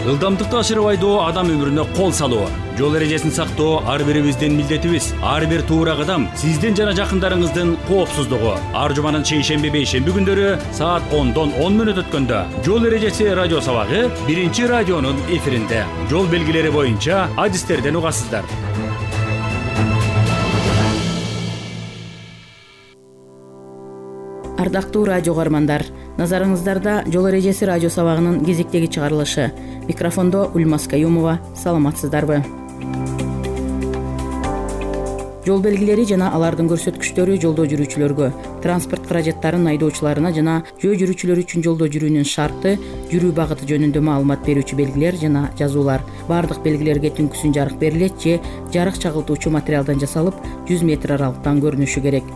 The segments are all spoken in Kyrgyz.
Ылдамдыкты ашырып айдоо адам өмүрүнө кол салуу. Жол эрежесин сактоо ар бирибиздин милдетибиз. Ар бир туура кадам сиздин жана жакындарыңыздын коопсуздугу. Ар жуманын шейшемби бейшемби күндөрү саат 10-дон 10 мүнөт өткөндө жол эрежеси радио сабагы биринчи радионун эфиринде. Жол белгилери боюнча адистерден угасыздар. Ардактуу радио каармандар, назарыңыздарда жол эрежеси радио сабагынын кезектеги чыгарылышы. Микрофондо Ульмас Каюмова. Саламатсыздарбы? Жол белгилери жана алардын көрсөткүчтөрү жолдо жүрүүчүлөргө, транспорт каражаттарын айдоочуларына жана жөө жүрүүчүлөр үчүн жолдо жүрүүнүн шарты, жүрүү багыты жөнүндө маалымат берүүчү белгилер жана жазуулар. Бардык белгилерге түнкүсүн жарык берилет же жарык чагылтуучу материалдан жасалып, 100 метр аралыктан көрүнүшү керек.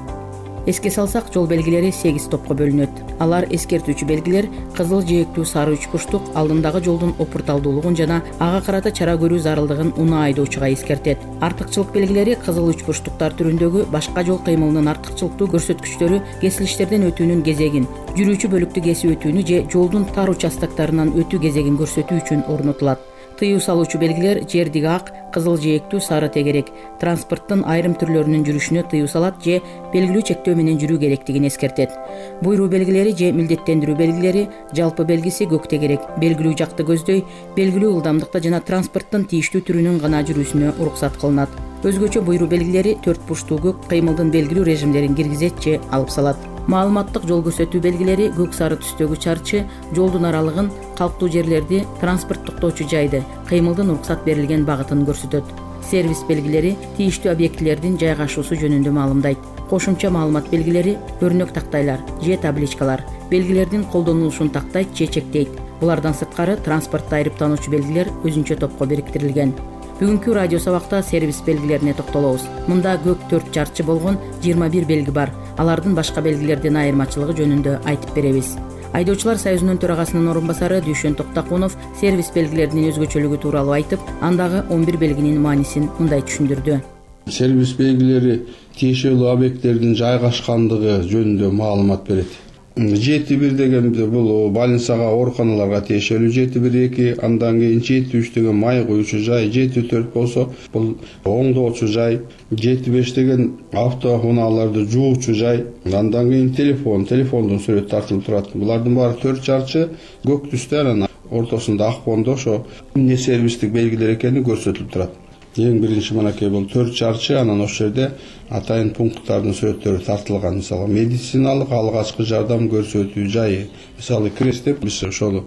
Эске салсак, жол белгилери 8 топко бөлүнөт. Алар эскертүүчү белгилер, кызыл, жээктүү, сары үч бурчтук алдындагы жолдун опурталдуулугун жана ага карата чара көрүү зарылдыгын унаа айдоочуга эскертет. Артыкчылык белгилери кызыл үч бурчтуктар түрүндөгү башка жол кыймылынын артыкчылыктуу көрсөткүчтөрү кесилиштерден өтүүнүн кезегин, жүрүүчү бөлүктү кесип өтүүнү же жолдун тар участоктарынан өтүү кезегин көрсөтүү үчүн орнотулат. Тыюу салуучу белгилер жердиги ак, кызыл, жээктүү, сары тегерек транспорттун айрым түрлөрүнүн жүрүшүнө тыюу салат же белгилүү чектөө менен жүрүү керектигин эскертет. Буйруу белгилери же милдеттендирүү белгилери жалпы белгиси көк тегерек, белгилүү жакты көздөй, белгилүү ылдамдыкта жана транспорттун тийиштүү түрүнүн гана жүрүүсүнө уруксат кылынат. Өзгөчө буйруу белгилери 4 бурчтуу көк кыймылдын белгилүү режимдерин киргизет же алып салат. Маалыматтык жол көрсөтүү белгилери көк сары түстөгү чарчы жолдун аралыгын, калктуу жерлерди, транспорт токтоочу жайды, кыймылдын уруксат берилген багытын көрсөтөт. Сервис белгилери тийиштүү объектилердин жайгашуусу жөнүндө маалымдайт. Кошумча маалымат белгилери көрнөк тактайлар же табличкалар белгилердин колдонулушун тактайт же чектейт. Булардан сырткары транспортто айрыптануучу белгилер өзүнчө топко бириктирилген. Бүгүнкү радио сабакта сервис белгилерине токтолобуз. Мында көк 4 чарчы болгон 21 белги бар. Алардын башка белгилерден айырмачылыгы жөнүндө айтып беребиз. Айдоочулар союзунун төрагасынын орун басары Дүйшөн Токтакунов сервис белгилеринин өзгөчөлүгү тууралуу айтып, андагы 11 белгинин маанисин мындай түшүндүрдү. Сервис белгилери тиешелүү объекттердин жайгашкандыгы жөнүндө маалымат берет. 7-1 деген бул больницага, ооруканаларга тиешелүү 7-1-2, андан кийин 7-3 деген май куюучу жай, 7-4 болсо бул оңдоочу жай, 7-5 деген автоунааларды жуучу жай, андан кийин телефондун сүрөтү тартылып турат. Булардын баары 4 чарчы көк түстө, анан ортосунда ак фондо ошо эмне сервистик белгилер экени көрсөтүлүп турат. Эң биринчи мынакей бул 4 чарчы, анан ошол жерде атайын пункттардын сүрөттөрү тартылган. Мисалы, медициналык алгачкы жардам көрсөтүү жайы. Мисалы, крест деп биз ошол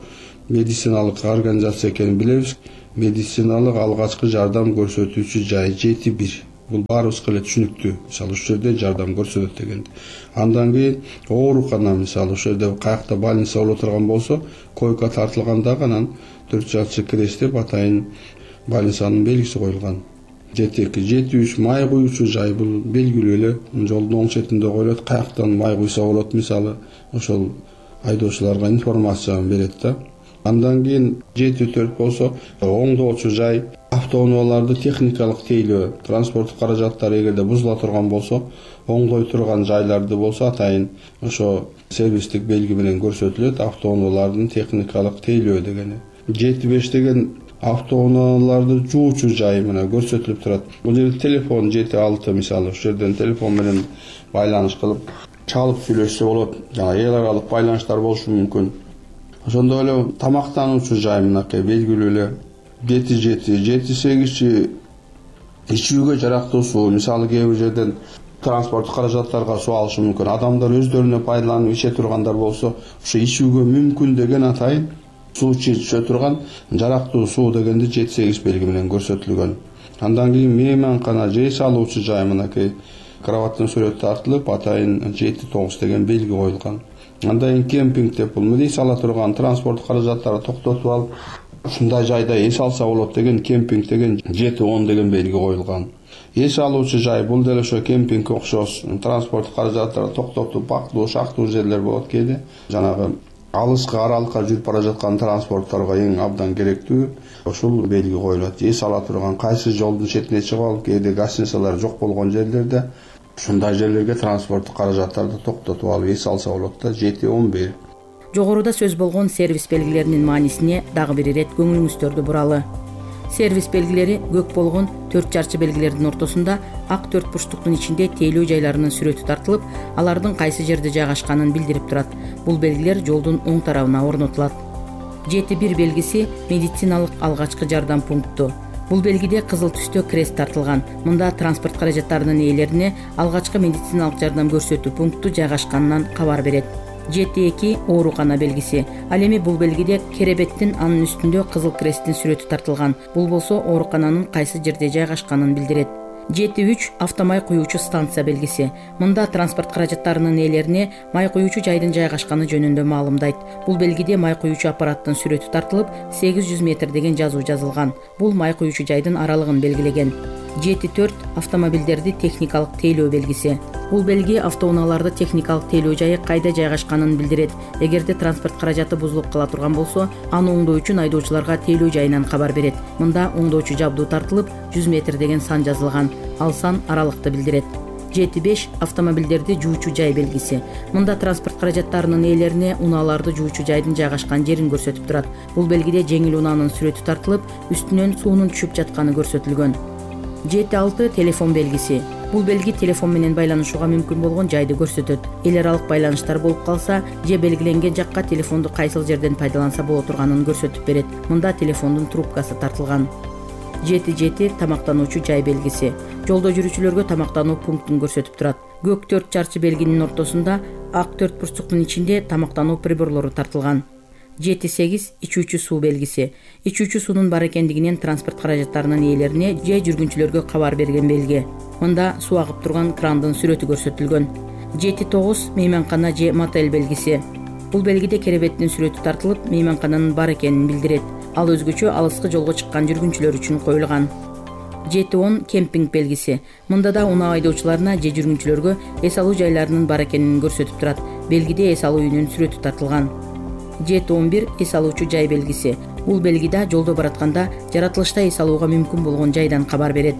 медициналык организация экенин билебиз. Медициналык алгачкы жардам көрсөтүүчү жай 7-1. Бул баарыбызга эле түшүнүктүү. Мисалы, ошол жерде жардам көрсөтөт дегенди. Андан кийин оорукана, мисалы, ошол жерде каякта больница боло турган болсо, койка тартылганда анан 4 чарчы крест деп атайын больницанын белгиси коюлган. 7-2, 7-3 май куюучу жай, бул белгилүү эле жолдун оң четинде коюлат, каяктан май куйса болот, мисалы, ошол айдоочуларга информацияны берет да. Андан кийин 7-4 болсо оңдоочу жай, автоунааларды техникалык тейлөө, транспорттук каражаттар эгерде бузула турган болсо, оңдой турган жайларды болсо атайын ошо сервистик белги менен көрсөтүлөт, автоунаалардын техникалык тейлөө дегени. 7-5 деген автоунааларды жуучу жай мына көрсөтүлүп турат. Бул жерде телефон 7-6, мисалы, ошол жерден телефон менен байланыш кылып чалып сүйлөшсө болот. Жана эл аралык байланыштар болушу мүмкүн. Ошондой эле тамактануучу жай мынакей белгилүү эле 7-8 ичүүгө жарактуу суу, мисалы, кээ бир жерден транспорттук каражаттарга суу алышы мүмкүн. Адамдар өздөрүнө пайдаланып иче тургандар болсо, ошо ичүүгө мүмкүн деген атайын суу иче турган жарактуу суу дегенди 7-8 белги менен көрсөтүлгөн. Андан кийин мейманкана же салуучу жай мынакей кроваттын сүрөтү тартылып, атайын 7-9 деген белги коюлган. Андан кийин кемпинг деп бул эс ала турган транспорттук каражаттарды токтотуп алып, ушундай жайда эс алса болот деген кемпинг деген 7-10 деген белги коюлган. Эс алуучу жай бул деле ошо кемпингке окшош, транспорттук каражаттарды токтотуп бактылуу, шактуу жерлер болот кээде. Жанагы алыскы аралыкка жүрүп бара жаткан транспортторго эң абдан керектүү ошол белги коюлат. Эс ала турган кайсы жолдун четине чыгып алып, кээде гостиницалар жок болгон жерлерде ушундай жерлерге транспорттук каражаттарды токтотуп алып эс алса болот да. 7-11. Жогоруда сөз болгон сервис белгилеринин маанисине дагы бир ирет көңүлүңүздөрдү буралы. Сервис белгилери көк болгон 4 чарчы белгилердин ортосунда ак 4 бурчтуктун ичинде тейлөө жайларынын сүрөтү тартылып, алардын кайсы жерде жайгашканын билдирип турат. Бул белгилер жолдун оң тарабына орнотулат. 7.1 белгиси медициналык алгачкы жардам пункту. Бул белгиде кызыл түстө крест тартылган. Мында транспорт каражаттарынын ээлерине алгачкы медициналык жардам көрсөтүү пункту жайгашканынан кабар берет. 7.2 оорукана белгиси. Ал эми бул белгиде керебеттин анын үстүндө кызыл кресттин сүрөтү тартылган. Бул болсо оорукананын кайсы жерде жайгашканын билдирет. 7.3 автомай куюучу станция белгиси. Мында транспорт каражаттарынын ээлерине май куюучу жайдын жайгашканы жөнүндө маалымдайт. Бул белгиде май куюучу аппараттын сүрөтү тартылып, 800 метр деген жазуу жазылган. Бул май куюучу жайдын аралыгын белгилеген. 7.4 автомобилдерди техникалык тейлөө белгиси. Бул белги автоунааларды техникалык тейлөө жайы кайда жайгашканын билдирет. Эгерде транспорт каражаты бузулуп кала турган болсо, аны оңдоо үчүн айдоочуларга тейлөө жайынан кабар берет. Мында оңдоочу жабдуу тартылып, 100 метр деген сан жазылган. Ал сан аралыкты билдирет. 7.5 автомобилдерди жуучу жай белгиси. Мында транспорт каражаттарынын ээлерине унааларды жуучу жайдын жайгашкан жерин көрсөтүп турат. Бул белгиде жеңил унаанын сүрөтү тартылып, үстүнөн суунун түшүп жатканы көрсөтүлгөн. 7.6 телефон белгиси. Бул белги телефон менен байланышууга мүмкүн болгон жайды көрсөтөт. Эл аралык байланыштар болуп калса, же белгиленген жакка телефонду кайсыл жерден пайдаланса боло турганын көрсөтүп берет. Мында телефондун трубкасы тартылган. 7.7 тамактануучу жай белгиси. Жолдо жүрүүчүлөргө тамактануу пунктун көрсөтүп турат. Көк 4 чарчы белгинин ортосунда ак 4 бурчтуктун ичинде тамактануу приборлору тартылган. 7.8 ичүүчү суу белгиси. Ичүүчү суунун бар экендигинен транспорт каражаттарынын ээлерине же жүргүнчүлөргө кабар берген белги. Мында суу агып турган крандын сүрөтү көрсөтүлгөн. 7.9 мейманкана же мотель белгиси. Бул белгиде керебеттин сүрөтү тартылып, мейманкананын бар экенин билдирет. Ал өзгөчө алыскы жолго чыккан жүргүнчүлөр үчүн коюлган. 7.10 кемпинг белгиси. Мында да унаа айдоочуларына же жүргүнчүлөргө эс алуу жайларынын бар экенин көрсөтүп турат. Белгиде эс алуу үйүнүн сүрөтү тартылган. 7.11 эс алуучу жай белгиси. Бул белгиде жолдо баратканда жаратылышта эс алууга мүмкүн болгон жайдан кабар берет.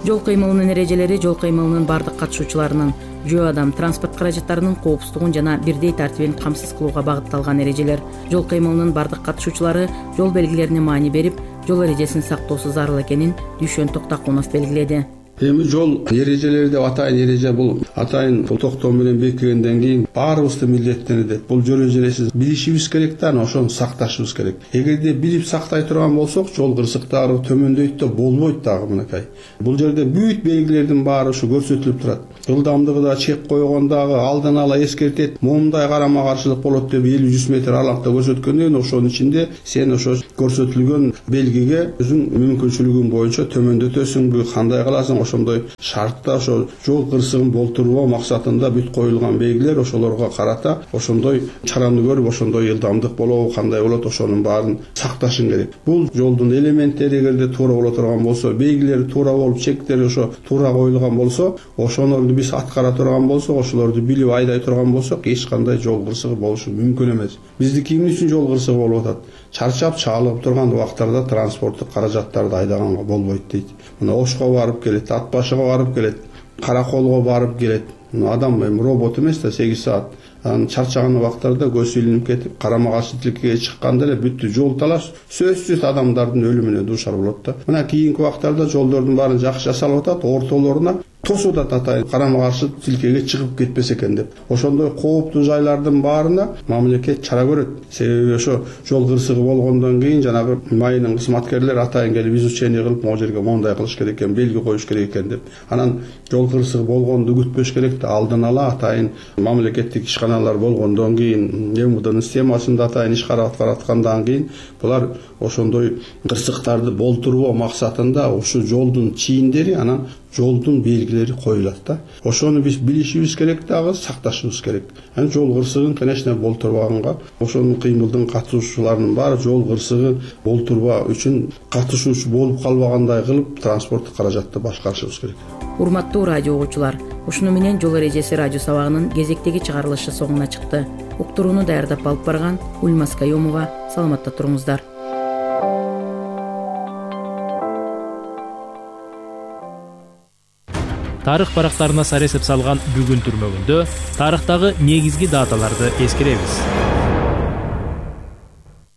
Жол кыймылынын эрежелери жол кыймылынын бардык катышуучуларынын, жөө адам, транспорт каражаттарынын коопсуздугун жана бирдей тартибин камсыз кылууга багытталган эрежелер. Жол кыймылынын бардык катышуучулары жол белгилерине маани берип, жол эрежесин сактоосу зарыл экенин Дүйшөн Токтакунов белгиледи. Эми жол эрежелери деп атайын эреже бул атайын токтоо менен бекигенден кийин баарыбызды милдеттенет. Бул жол эрежесин билишибиз керек да, ошону сакташыбыз керек. Эгерде билип сактай турган болсок, жол кырсыктары төмөндөйт да болбойт дагы мынакай. Бул жерде бүт белгилердин баары ушу көрсөтүлүп турат. Жылдамдыгы да чек койгондагы алдын ала эскертет, момундай карама каршылык болот деп 50-100 метр аралыкта көрсөткөндөн ошонун ичинде сен ошо көрсөтүлгөн белгиге өзүң мүмкүнчүлүгүң боюнча төмөндөтөсүңбү, кандай кыласың, ошондой шартта ошо жол кырсыгын болтурбоо максатында бүт коюлган белгилер ошолорго карата ошондой чараны көрүп, ошондой жылдамдык болобу, кандай болот, ошонун баарын сакташың керек. Бул жолдун элементтери эгерде туура боло турган болсо, белгилери туура болуп, чектери ошо туура коюлган болсо, ошону биз аткара турган болсок, ошолорду билип айдай турган болсок, эч кандай жол кырсыгы болушу мүмкүн эмес. Биздики эмне үчүн жол кырсыгы болуп атат? Чарчап чагылып турган убактарда транспорттук каражаттарды айдаганга болбойт дейт. Мына Ошко барып келет, Ат башыга барып келет, Караколго барып келет. Адам эми робот эмес да, 8 саат. Анан чарчаган убактарда көз илинип кетип, карама каршы тилкеге чыкканда эле бүттү жол талаш сөзсүз адамдардын өлүмүнө дуушар болот да. Мына кийинки убактарда жолдордун баарын жакшы жасалып атат, ортолоруна тосуп атат, карама каршы тилкеге чыгып кетпесе экен деп. Ошондой кооптуу жайлардын баарына мамлекет чара көрөт. Себеби ошо жол кырсыгы болгондон кийин жанагы майынын кызматкерлери атайын келип изучение кылып, могу жерге мондай кылыш керек экен, белги коюш керек экен деп. Анан жол кырсыгы болгонду күтпөш керек да, алдын ала атайын мамлекеттик ишканалар болгондон кийин, МВДнын системасында атайын иш карап аткандан кийин булар ошондой кырсыктарды болтурбоо максатында ушу жолдун чийиндери, анан жолдун белгилери коюлат да. Ошону биз билишибиз керек дагы, сакташыбыз керек. Анан жол кырсыгын, конечно, болтурбаганга, ошонун кыймылдын катышуучуларынын баары жол кырсыгы болтурбаа үчүн катышуучу болуп калбагандай кылып транспорттук каражатты башкарышыбыз керек. Урматтуу радио угуучулар, ушуну менен жол эрежеси радио сабагынын кезектеги чыгарылышы соңуна чыкты. Уктурууну даярдап алып барган Ульмас Кайомова, саламатта туруңуздар. Тарых барактарына сарэсеп салган бүгүн түрмөгүндө тарыхтагы негизги даталарды эскеребиз.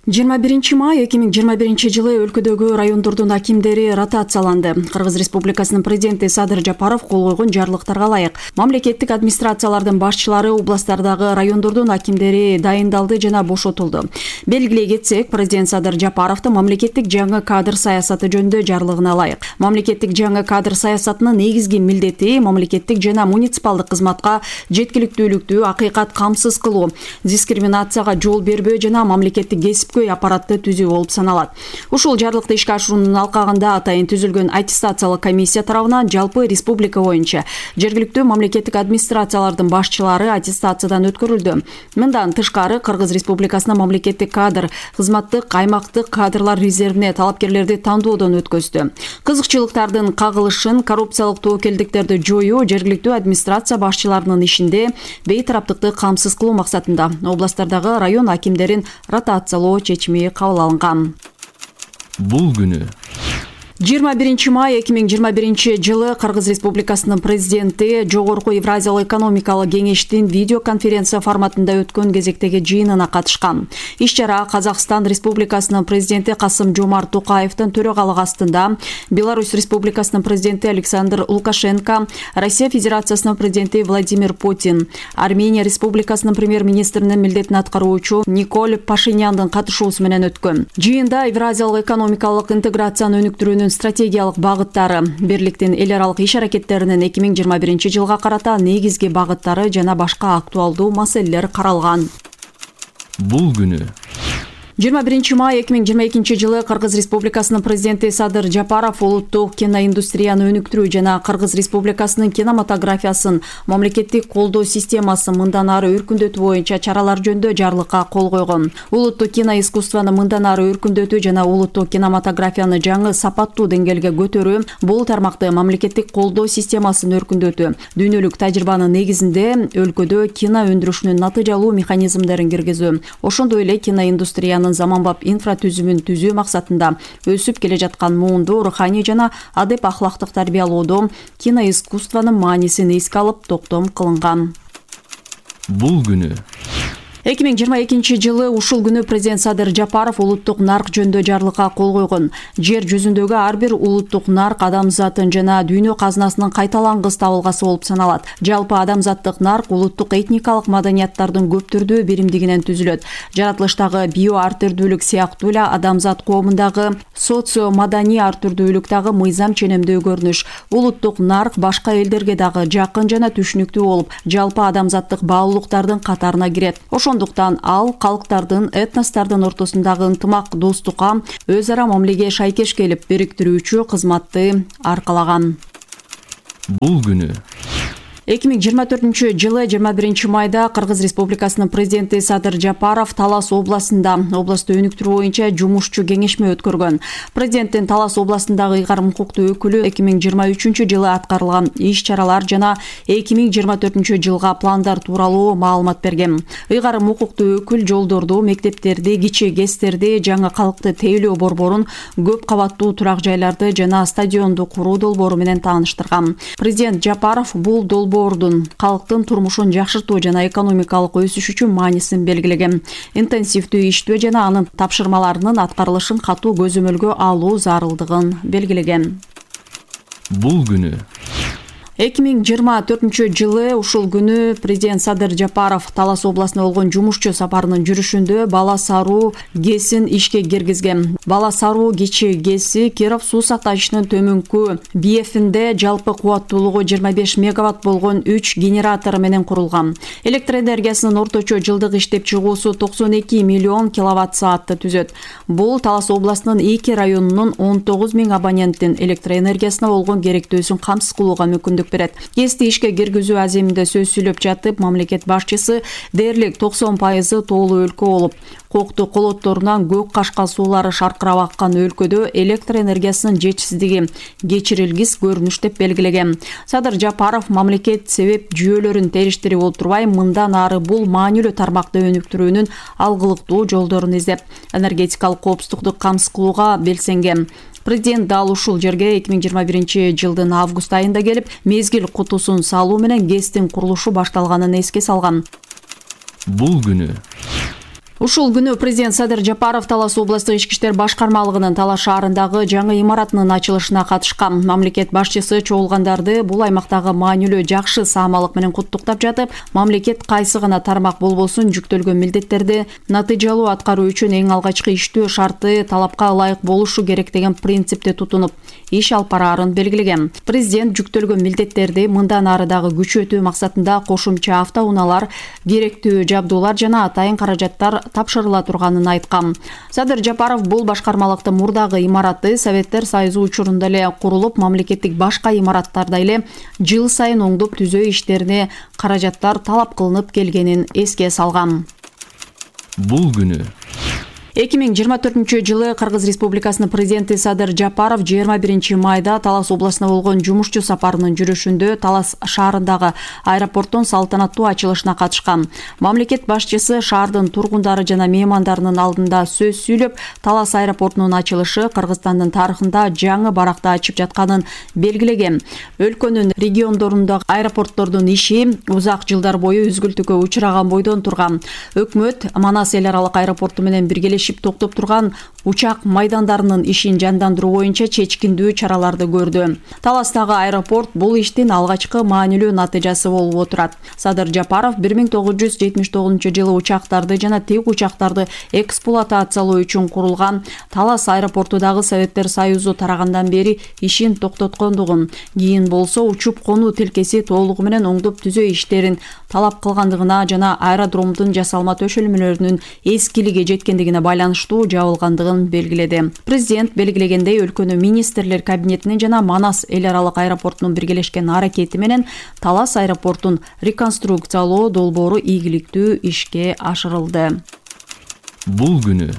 21 май 2021 жылы өлкөдөгү райондордун акимдери ротацияланды. Кыргыз Республикасынын президенти Садыр Жапаров кол койгон жарлыктарга ылайык мамлекеттик администрациялардын башчылары областтардагы райондордун акимдери дайындалды жана бошотулду. Белгилей кетсек, президент Садыр Жапаровдун мамлекеттик жаңы кадр саясаты жөнүндө жарлыгына ылайык. Мамлекеттик жаңы кадр саясатынын негизги милдети мамлекеттик жана муниципалдык кызматка жеткиликтүүлүктү акыйкат камсыз кылуу, дискриминацияга жол бербөө жана мамлекеттик кесип аппаратты түзүү болуп саналат. Ушул жарлыкты ишке ашыруунун алкагында атайын түзүлгөн аттестациялык комиссия тарабынан жалпы республика боюнча жергиликтүү мамлекеттик администрациялардын башчылары аттестациядан өткөрүлдү. Мындан тышкары Кыргыз Республикасынын мамлекеттик кадр кызматтык аймактык кадрлар резервине талапкерлерди тандоодон өткөздү. Кызыкчылыктардын кагылышын, коррупциялык тобокелдиктерди жоюу, жергиликтүү администрация башчыларынын ишинде бейтараптыкты камсыз кылуу максатында областтардагы район акимдерин ротациялоо чечими кабыл алынган. Бул күнү 21 май 2021 жылы Кыргыз Республикасынын президенти Жогорку Евразиялык экономикалык кеңештин видеоконференция форматында өткөн кезектеги жыйынына катышкан. Иш-чара Казакстан Республикасынын президенти Касым-Жомарт Токаевдин төрагалыгы астында Беларусь Республикасынын президенти Александр Лукашенко, Россия Федерациясынын президенти Владимир Путин, Армения Республикасынын премьер-министринин милдетин аткаруучу Николь Пашиняндын катышуусу менен өткөн. Жыйында Евразиялык экономикалык интеграцияны өнүктүрүүнүн стратегиялык багыттары, бирликтин эл аралык иш-аракеттеринин 2021 жылга карата негизги багыттары жана башка актуалдуу маселелер каралган. Бул күнү 21 май 2022 жылы Кыргыз Республикасынын президенти Садыр Жапаров улуттук киноиндустрияны өнүктүрүү жана Кыргыз Республикасынын кинематографиясын мамлекеттик колдоо системасын мындан ары өркүндөтүү боюнча чаралар жөнүндө жарлыкка кол койгон. Улуттук киноискусствону мындан ары өркүндөтүү жана улуттук кинематографияны жаңы сапаттуу деңгээлге көтөрүү, бул тармакты мамлекеттик колдоо системасын өркүндөтүү, дүйнөлүк тажрыйбанын негизинде өлкөдө кино өндүрүшүнүн натыйжалуу механизмдерин киргизүү, ошондой эле киноиндустрияны заманбап инфратүзүмүн түзүү максатында өсүп келе жаткан муунду руханий жана адеп ахлактык тарбиялоодо киноискусствонун маанисин эске алып токтом кылынган. Бул күнү 2022 жылы ушул күнү президент Садыр Жапаров улуттук нарк жөнүндө жарлыкка кол койгон. Жер жүзүндөгү ар бир улуттук нарк адамзатын жана дүйнө казынасынын кайталангыс табылгасы болуп саналат. Жалпы адамзаттык нарк улуттук этникалык маданияттардын көп түрдүү биримдигинен түзүлөт. Жаратылыштагы био ар түрдүүлүк сыяктуу эле адамзат коомундагы социо маданий ар түрдүүлүк дагы мыйзам ченемдүү көрүнүш. Улуттук нарк башка элдерге дагы жакын жана түшүнүктүү болуп, жалпы адамзаттык баалуулуктардын катарына кирет. Ошондуктан ал калктардын, этностордун ортосундагы ынтымак, достукка, өз ара мамилеге шайкеш келип бириктирүүчү кызматты аркалаган. Бул күнү 2024 жылы 21 майда Кыргыз Республикасынын президенти Садыр Жапаров Талас областында областты өнүктүрүү боюнча жумушчу кеңешме өткөргөн. Президенттин Талас областындагы ыйгарым укуктуу өкүлү 2023 жылы аткарылган иш-чаралар жана 2024 жылга пландар тууралуу маалымат берген. Ыйгарым укуктуу өкүл жолдорду, мектептерди, кичи ГЭСтерди, жаңы калкты тейлөө борборун, көп кабаттуу турак жайларды жана стадионду куруу долбоору менен тааныштырган. Президент Жапаров бул долбоордун калктын турмушун жакшыртуу жана экономикалык өсүш үчүн маанисин белгилеген. Интенсивдүү иштөө жана анын тапшырмаларынын аткарылышын катуу көзөмөлгө алуу зарылдыгын белгилеген. Бул күнү 2024 жылы ушул күнү президент Садыр Жапаров Талас областына болгон жумушчу сапарынын жүрүшүндө Бала Саруу ГЭСин ишке киргизген. Бала Саруу кичи ГЭСи Киров суу сактагычынын төмөнкү биефинде жалпы кубаттуулугу 25 мегаватт болгон 3 генератор менен курулган. Электр энергиясынын орточо жылдык иштеп чыгуусу 92 миллион киловатт саатты түзөт. Бул Талас областынын 2 районунун 19 000 абоненттин электр энергиясына болгон керектөөсүн камсыз кылууга мүмкүндүк берет. ГЭСти ишке киргизүү аземинде сөз сүйлөп жатып, мамлекет башчысы дээрлик 90% тоолуу өлкө болуп, кокту колотторунан көк кашка суулары шаркырап аккан өлкөдө электр энергиясынын жетишсиздиги кечирилгис көрүнүш деп белгилеген. Садыр Жапаров мамлекет себеп жүйөлөрүн териштирип отурбай, мындан ары бул маанилүү тармакты өнүктүрүүнүн алгылыктуу жолдорун издеп, энергетикалык коопсуздукту камсыз кылууга белсенген. Президент дал ушул жерге 2021 жылдын август айында келип, мезгил кутусун салуу менен ГЭСтин курулушу башталганын эске салган. Бул күнү Ушул күнү президент Садыр Жапаров Талас областык ички иштер башкармалыгынын Талас шаарындагы жаңы имаратынын ачылышына катышкан. Мамлекет башчысы чогулгандарды бул аймактагы маанилүү жакшы саамалык менен куттуктап жатып, мамлекет кайсы гана тармак болбосун жүктөлгөн милдеттерди натыйжалуу аткаруу үчүн эң алгачкы иштөө шарты талапка ылайык болушу керек деген принципти тутунуп иш алып бараарын белгилеген. Президент жүктөлгөн милдеттерди мындан ары дагы күчөтүү максатында кошумча автоунaalар, керектүү жабдуулар жана атайын каражаттар тапшырыла турганын айткан. Садыр Жапаров бул башкармалыкты мурдагы имараты Советтер Союзу учурунда эле курулуп, мамлекеттик башка имараттарда эле жыл сайын оңдоп түзөө иштерине каражаттар талап кылынып келгенин эске салган. Бул күнү 2024-жылы Кыргыз Республикасынын президенти Садыр Жапаров 21 майда Талас областына болгон жумушчу сапарынын жүрүшүндө Талас шаарындагы аэропорттун салтанаттуу ачылышына катышкан. Мамлекет башчысы шаардын тургундары жана меймандарынын алдында сөз сүйлөп, Талас аэропортунун ачылышы Кыргызстандын тарыхында жаңы баракта ачып жатканын белгилеген. Өлкөнүн региондорундагы аэропорттордун иши узак жылдар бою үзгүлтүккө учураган бойдон турган. Өкмөт Манас эл аралык аэропорту менен биргелешип токтоп турган учак майдандарынын ишин жандандыруу боюнча чечкиндүү чараларды көрдү. Таластагы аэропорт бул иштин алгачкы маанилүү натыйжасы болуп отурат. Садыр Жапаров 1979-жылы учактарды жана тик учактарды эксплуатациялоо үчүн курулган Талас аэропорту дагы Советтер Союзу тарагандан бери ишин токтоткондугун, кийин болсо учуп конуу тилкеси толугу менен оңдоп түзөө иштерин талап кылгандыгына жана аэродромдун жасалма төшөлмөлөрүнүн эскилиги жеткендигине байланыштуу жабылгандыгын белгиледи. Президент белгилегендей, өлкөнүн министрлер кабинетинин жана Манас эл аралык аэропортунун биргелешкен аракети менен Талас аэропортун реконструкциялоо долбоору ийгиликтүү ишке ашырылды. Бул күнү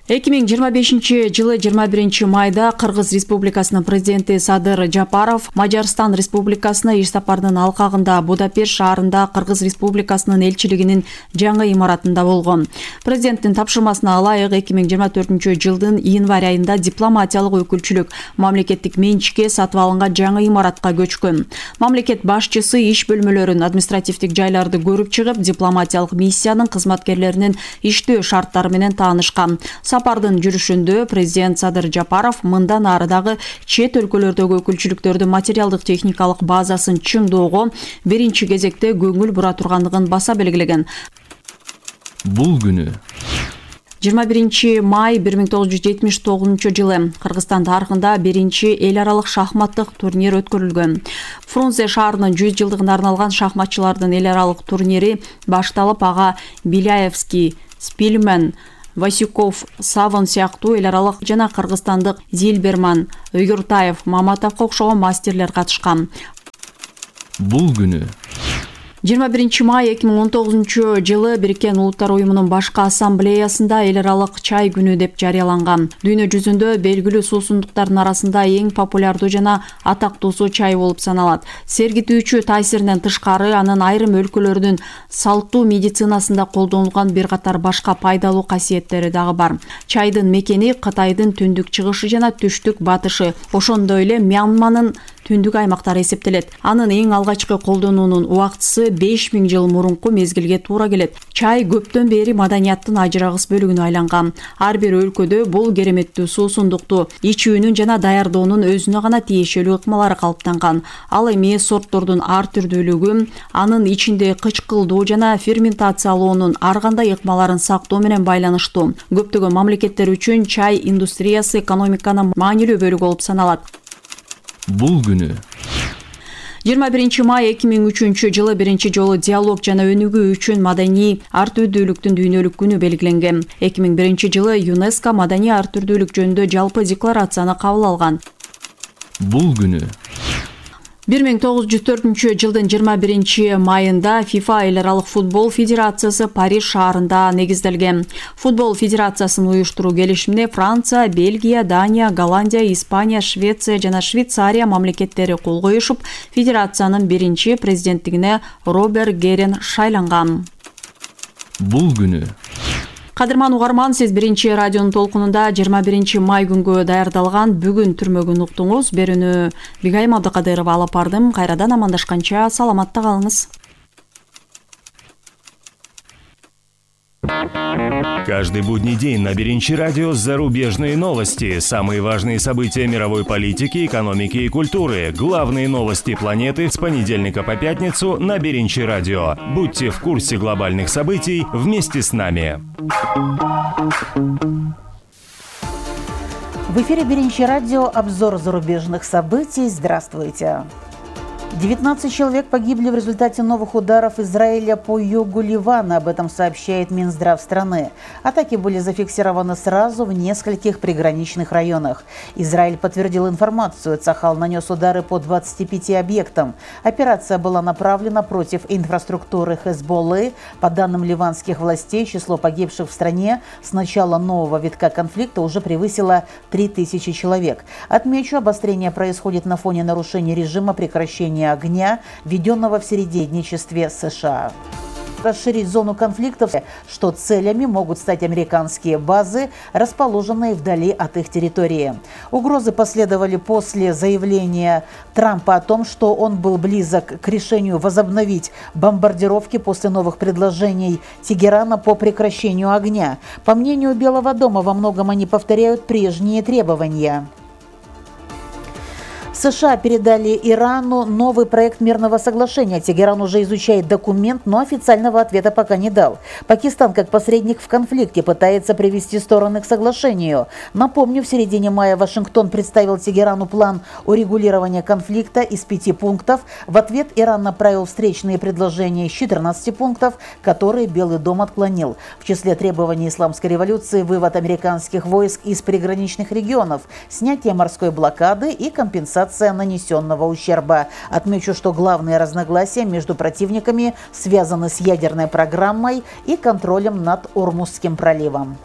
2025-жылы 21 майда Кыргыз Республикасынын президенти Садыр Жапаров Мажарстан Республикасына иш сапарынын алкагында Будапешт шаарында Кыргыз Республикасынын элчилигинин жаңы имаратында болгон. Президенттин тапшырмасына ылайык 2024-жылдын январь айында дипломатиялык өкүлчүлүк мамлекеттик менчикке сатып алынган жаңы имаратка көчкөн. Мамлекет башчысы иш бөлмөлөрүн, административдик жайларды көрүп чыгып, дипломатиялык миссиянын кызматкерлеринин иштөө шарттары менен таанышкан. Сапардын жүрүшүндө президент Садыр Жапаров мындан ары дагы чет өлкөлөрдөгү өкүлчүлүктөрдүн материалдык техникалык базасын чыңдоого биринчи кезекте көңүл бура тургандыгын баса белгилеген. Бул күнү 21 май 1979-жылы Кыргызстан тарыхында биринчи эл аралык шахматтык турнир өткөрүлгөн. Фрунзе шаарынын 100 жылдыгына арналган шахматчылардын эл аралык турнири башталып, ага Беляевский, Спильман, Васюков, Савон сыяктуу эл аралык жана кыргызстандык Зильберман, Юртаев, Маматовго окшогон мастерлер катышкан. Бул күнү 21 май 2019-жылы Бириккен Улуттар уюмунун башкы ассамблеясында эл аралык чай күнү деп жарыяланган. Дүйнө жүзүндө белгилүү суусундуктардын арасында эң популярдуу жана атактуусу чай болуп саналат. Сергитүүчү таасиринен тышкары, анын айрым өлкөлөрдүн салттуу медицинасында колдонулган бир катар башка пайдалуу касиеттери дагы бар. Чайдын мекени Кытайдын түндүк чыгышы жана түштүк батышы, ошондой эле Мьянманын түндүк аймактары эсептелет. Анын эң алгачкы колдонуунун убактысы 5000 жыл мурунку мезгилге туура келет. Чай көптөн бери маданияттын ажырагыс бөлүгүнө айланган. Ар бир өлкөдө бул кереметтүү суусундукту ичүүнүн жана даярдоонун өзүнө гана тиешелүү ыкмалары калыптанган. Ал эми сорттордун ар түрдүүлүгү, анын ичинде кычкылдуу жана ферментациялоонун ар кандай ыкмаларын сактоо менен байланыштуу. Көптөгөн мамлекеттер үчүн чай индустриясы экономиканын маанилүү бөлүгү болуп саналат. Бул күнү 21 май 2003-жылы биринчи жолу диалог жана өнүгүү үчүн маданий ар түрдүүлүктүн дүйнөлүк күнү белгиленген. 2001-жылы ЮНЕСКО маданий ар түрдүүлүк жөнүндө жалпы декларацияны кабыл алган. Бул күнү 1904-жылдын 21 майында ФИФА эл аралык футбол федерациясы Париж шаарында негизделген. Футбол федерациясын уюштуруу келишимине Франция, Бельгия, Дания, Голландия, Испания, Швеция жана Швейцария мамлекеттери кол коюшуп, федерациянын биринчи президенттигине Роберт Герен шайланган. Бул күнү Кадырман угарман, сиз биринчи радионун толкунунда 21 май күнгө даярдалган бүгүн түрмөгүн уктуңуз. Берүүнү Бигайым Абдыкадырова алып бардым. Кайрадан амандашканча саламатта калыңыз. Каждый будний день на Беренчи радио зарубежные новости, самые важные события мировой политики, экономики и культуры, главные новости планеты с понедельника по пятницу на Беренчи радио. Будьте в курсе глобальных событий вместе с нами. В эфире Беренчи радио, обзор зарубежных событий. Здравствуйте. 19 человек погибли в результате новых ударов Израиля по югу Ливана. Об этом сообщает Минздрав страны. Атаки были зафиксированы сразу в нескольких приграничных районах. Израиль подтвердил информацию. Цахал нанес удары по 25 объектам. Операция была направлена против инфраструктуры Хезболлы. По данным ливанских властей, число погибших в стране с начала нового витка конфликта уже превысило 3000 человек. Отмечу, обострение происходит на фоне нарушения режима прекращения огня, введенного в середнячестве США. Расширить зону конфликтов, что целями могут стать американские базы, расположенные вдали от их территории. Угрозы последовали после заявления Трампа о том, что он был близок к решению возобновить бомбардировки после новых предложений Тегерана по прекращению огня. По мнению Белого дома, во многом они повторяют прежние требования. США передали Ирану новый проект мирного соглашения. Тегеран уже изучает документ, но официального ответа пока не дал. Пакистан, как посредник в конфликте, пытается привести стороны к соглашению. Напомню, в середине мая Вашингтон представил Тегерану план урегулирования конфликта из 5 пунктов. В ответ Иран направил встречные предложения из 14 пунктов, которые Белый дом отклонил. В числе требований исламской революции вывод американских войск из приграничных регионов, снятие морской блокады и компенсация нанесенного ущерба. Отмечу, что главные разногласия между противниками связаны с ядерной программой и контролем над Ормузским проливом.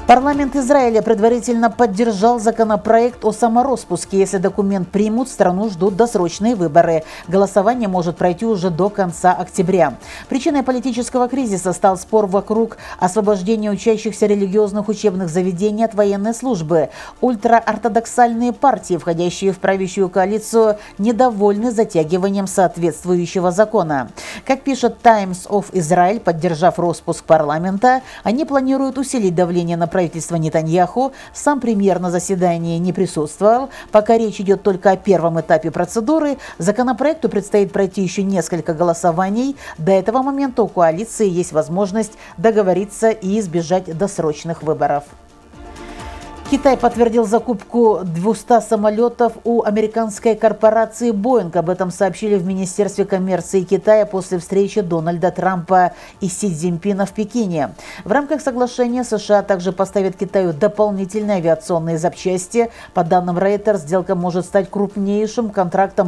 Парламент Израиля предварительно поддержал законопроект о самороспуске. Если документ примут, страну ждут досрочные выборы. Голосование может пройти уже до конца октября. Причиной политического кризиса стал спор вокруг освобождения учащихся религиозных учебных заведений от военной службы. Ультраортодоксальные партии, входящие в правящую коалицию, недовольны затягиванием соответствующего закона. Как пишет Times of Israel, поддержав роспуск парламента, они планируют усилить давление на правительство Нетаньяху. Сам премьер на заседании не присутствовал. Пока речь идет только о первом этапе процедуры, законопроекту предстоит пройти еще несколько голосований. До этого момента у коалиции есть возможность договориться и избежать досрочных выборов. Китай подтвердил закупку 200 самолетов у американской корпорации Boeing. Об этом сообщили в Министерстве коммерции Китая после встречи Дональда Трампа и Си Цзиньпина в Пекине. В рамках соглашения США также поставят Китаю дополнительные авиационные запчасти. По данным Reuters, сделка может стать крупнейшим контрактом